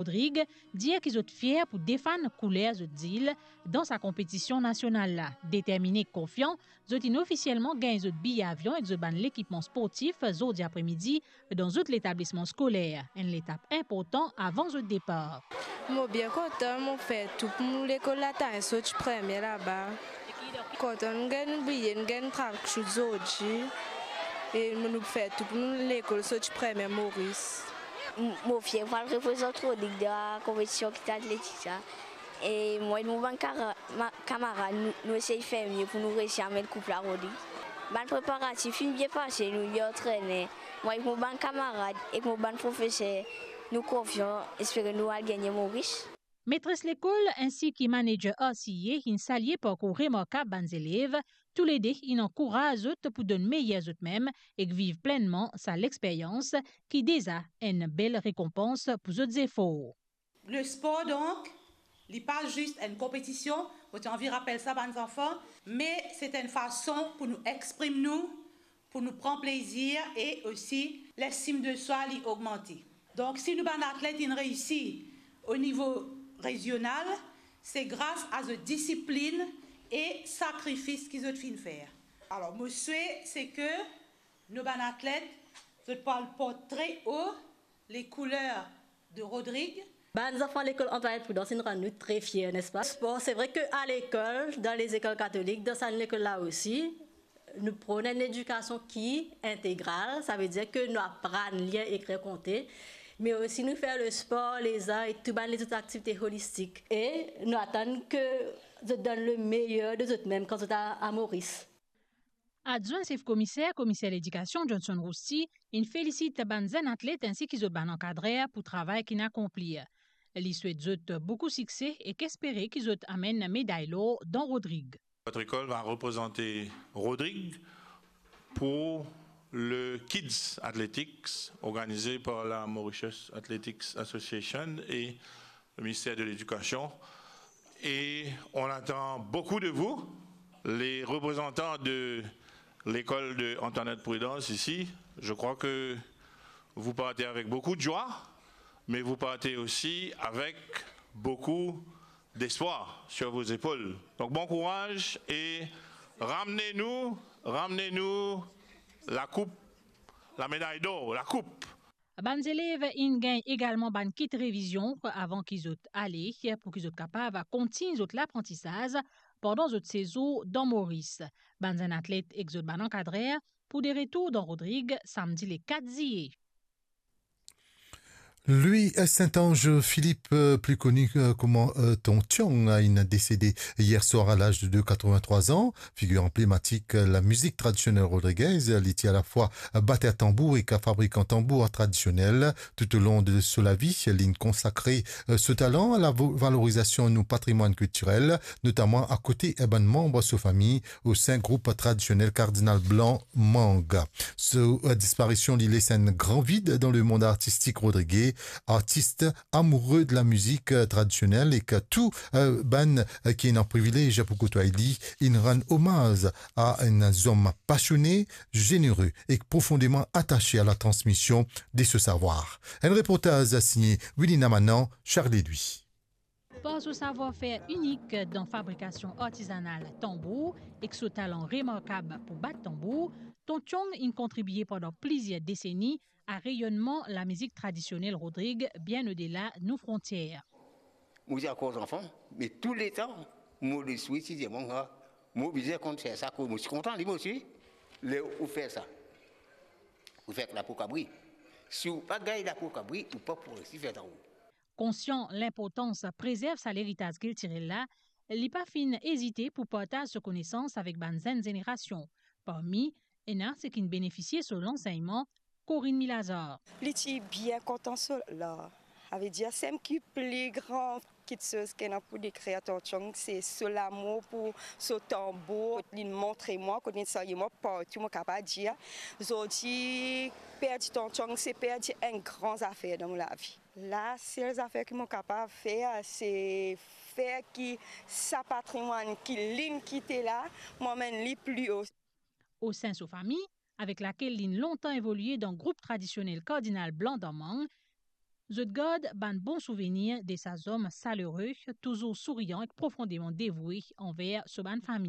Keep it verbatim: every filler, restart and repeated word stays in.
Rodrig dir ki zot fier pou defann kouler zot zil dan sa konpetision nasional la. Determine ek konfian, zot inn ofisielman gagn zot biye avion ek zot bann lekipman sportif zordi apremidi dan zot letablisman skoler, enn letap inportan avan zot depar. Mo bien kontan, mo fer tou pou mo lekol la tann sot premie laba. Kontan nou gagn nou biye, nou gagn nou trann kiksoz zordi. E nou fer tou pou nou lekol sot premie Moris. M-, mo fier pou al reprezant Rodrig dan konpetision ki ti atletik sa. E mwa ek mo bann kara-, ma-, kamarad, nou, nou esey fer mie pou nou resi amenn koup la Rodrig. Bann preparatif finn bien pase, nou bien antrene. Mwa ek mo bann kamarad, ek mo bann profeser, nou konfian, espere nou al gagne Moris. Metres lekol insi ki manager R C A inn salie parkour remarkab bann zelev, toulede inn ankouraz zot pou donn meyer zot mem ek viv plennman sa lexperyans ki deza enn bel rekonpans pou zot zefor. Le spor, donk, li pa zis enn konpetision, mo ti anvi rapel sa bann zanfan, me se enn fason pou nou exprim nou, pou nou pran plezir e osi lestim de swa li ogmante. Donk, si nou bann atlet inn reisi o nivo rezional, se gras a zot disiplin e sakrifis ki zot finn fer. Alor, mo swe, se ke nou bann atlet, zot pou al port tre o le kouler de Rodrig. Bann zanfan lekol Antoinette Prudence inn rann nou tre fier, nespa? Spor, se vre ke a lekol, dan lezekol katolik, dan sa lekol la osi, nou pran enn ledikasion ki integral, savedir ke nou aprann lir, ekrir, konte, me osi nou fer le spor, lezar e tou bann lezot aktivite holistik. E nou atann ke zot donn le meyer de zot mem kan zot a, a Moris. Adwin sef komiser, komiser ledikasion Johnson Rousty, inn felisit bann zenn atlet insi ki zot bann ankadrer pou travay ki inn akonpli. Li swet zot boukou sikse ek espere ki zot amenn meday lor dan Rodrig. Votre école va représenter Rodrig pour le Kids Athletics organisé par la Mauritius Athletics Association et le ministère de l'Éducation. Et on attend beaucoup de vous, les représentants de l'école de Antoinette Prudence ici. Je crois que vous partez avec beaucoup de joie, mais vous partez aussi avec beaucoup d'espoir sur vos épaules. Donc bon courage et ramenez-nous, ramenez-nous la coupe, la médaille d'or, la coupe. Bann zelev inn gagn egalman bann kit revizion avan ki zot ale, pou ki zot kapav kontign zot laprantisaz pandan zot sezour dan Moris. Bann zenn atlet ek zot bann ankadrer pou de retour dan Rodrig samdi le kat ziye. Louis Saint-Ange Philippe, euh, plus connu, euh, comme, euh, Ton Tiong, a inn desede yer swar a laz de quatre-vingt-trois an. Figir anblematik, euh, lamizik tradisionel rodrigez, li ti alafwa bater tanbour ek fabrikan tanbour tradisionel. Toutolong de so lavi, li inn konsakre, euh, so talan a la vo-, valorizasyon nou patrimwann kiltirel, notaman akote, eh, bann manm so fami, o sein group tradisionel Kardinal Blan Mang. So, euh, disparision, li les enn gran vid dan lemond artistik rodrige. Artis amoure de lamizik, euh, tradisionel ek tou, euh, bann, euh, ki ena privilez pou kotway li, inn rann omaz a enn zom pasione, zenere ek profondeman atase a latransmision de so savwar. Enn reportaz signe Wilina Manan, Charles Louis. Par so savwar-fer inik dan fabrikasion artizanal tanbour ek so talan remarkab pou bat tanbour, Ton Tiong inn kontribie pandan plizier deseni a reyonnman lamizik tradisionel rodrig bien odela nou frontier. Mo ti ankor zanfan, me touletan mo lespri ti dir mwa, mo bizin konn fer sa, mo ti kontan li mo ti, ler ou fer sa. Ou fer lapo kabri. Si ou pa gagn lapo kabri, ou pa pou resi fer tanbour. Konsian linportans prezerv sa leritaz kiltirel la, li pa finn ezite pou partaz so konesans avek bann zenn zenerasion. Parmi, ena seki'nn benefisie so lansegnman, Corinne Milazar. Li ti bien kontan so lar. Savedir, sem ki pli gran kitsoz ki ena pou dekrir Ton Tiong, se so lamour pou so tanbour. Li'nn montre mwa, kot li'nn sarye mwa partou, mo kapav dir, zordi, perdi Ton Tiong, se perdi enn gran zafer dan mo lavi. Lasel zafer ki mo kapav fer, se fer ki sa patrimwann ki li'nn kite la, mo amenn li pli o. O sein so fami, avek lakel li'nn lontan evolie dan group tradisionel Kardinal Blan dan Mang, zot gard bann bon souvenir de sa zom salere, touzour sourian ek profondeman devoue anver so bann fami.